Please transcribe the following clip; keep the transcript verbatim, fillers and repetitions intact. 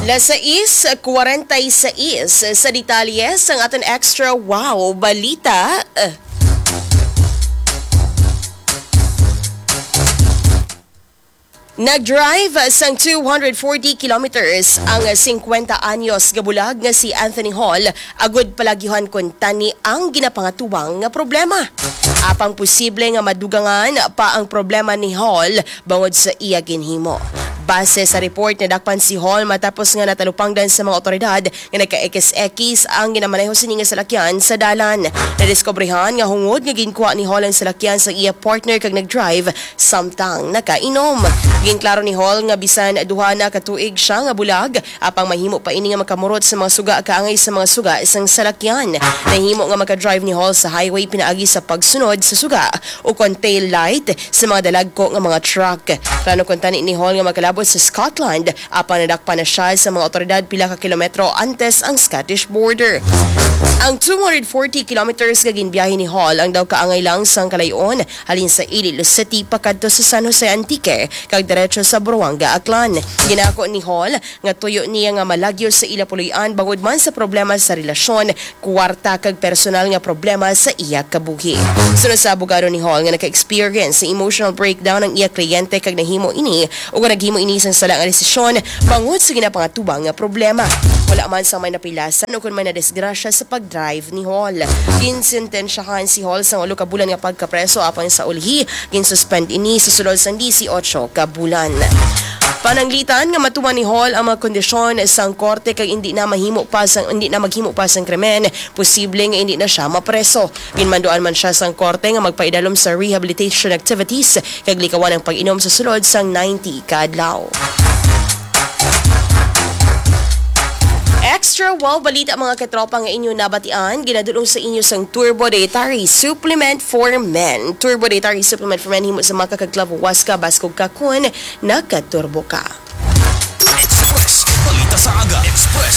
Las sais cuarenta y seis sa detalye sang aton extra wow balita. Nag-drive sang two hundred forty kilometers ang singkwenta anyos nga bulag nga si Anthony Hall agud palagyuhan kuntani ang ginapangatubang nga problema. Apang posible nga madugangan pa ang problema ni Hall bangod sa iya ginhimo. Base sa report, nadakpan si Hall matapos nga natalupangdan sa mga otoridad nga nagka-X X ang ginamaneho sini nga salakyan sa dalan. Nadiskobrehan nga hungod nga ginkuha ni Hall ang salakyan sa iya partner kag nag-drive samtang nakainom. Ginklaro ni Hall nga bisan duha na ka tuig siya nga bulag, apang mahimo pa ini nga makamurot sa mga suga kaangay sa mga suga sang salakyan. Nahimo nga maka-drive ni Hall sa highway pinaagi sa pagsunod sa suga ukon tail light sa mga dalagko nga mga truck. Plano kuntani ni Hall nga makalabot sa Scotland, apang nadakpan na siya sa mga otoridad pila ka kilometro antes ang Scottish border. Ang two hundred forty kilometers nga ginbiyahe ni Hall ang daw kaangay lang sang kalayon halin sa Iloilo City pakadto sa San Jose Antique kag diretso sa Buruanga, Aklan. Ginako ni Hall nga tuyo niya nga malagyo sa ila puloy-an bangod man sa problema sa relasyon, kwarta kag personal nga problema sa iya kabuhi. Sunod sa abogado ni Hall nga naka-experience sa emotional breakdown ang iya kliyente kag nahimo ini o nga naghimo ini sang sala nga desisyon bangod sa ginapangatubang nga problema. Wala man sa may napilasan o kon may nadisgrasya sa pag-drive ni Hall. Ginsentensyahan si Hall sa ulo ka bulan nga pagkapreso, apang sa ulhi ginsuspend ini sa sulod sang disiotso ka bulan. Pananglitan nga matuman ni Hall ang mga kondisyon sang korte kag hindi na mahimo pa sang, hindi na maghimo pa sang krimen, posible nga hindi na siya mapreso. Ginmanduan man siya sang korte nga magpaidalom sa rehabilitation activities kag likawan ang pag-inom sa sulod sang ninety ka adlaw. Extra wow balita, mga katropa, nga inyo nabatian, ginadulong sa inyo sang Turbo Dietary Supplement for Men. Turbo Dietary Supplement for Men, himo sa maca kag clavo huasca, baskog ka kon nagkaturbo ka. Express. Balita sa aga. Express.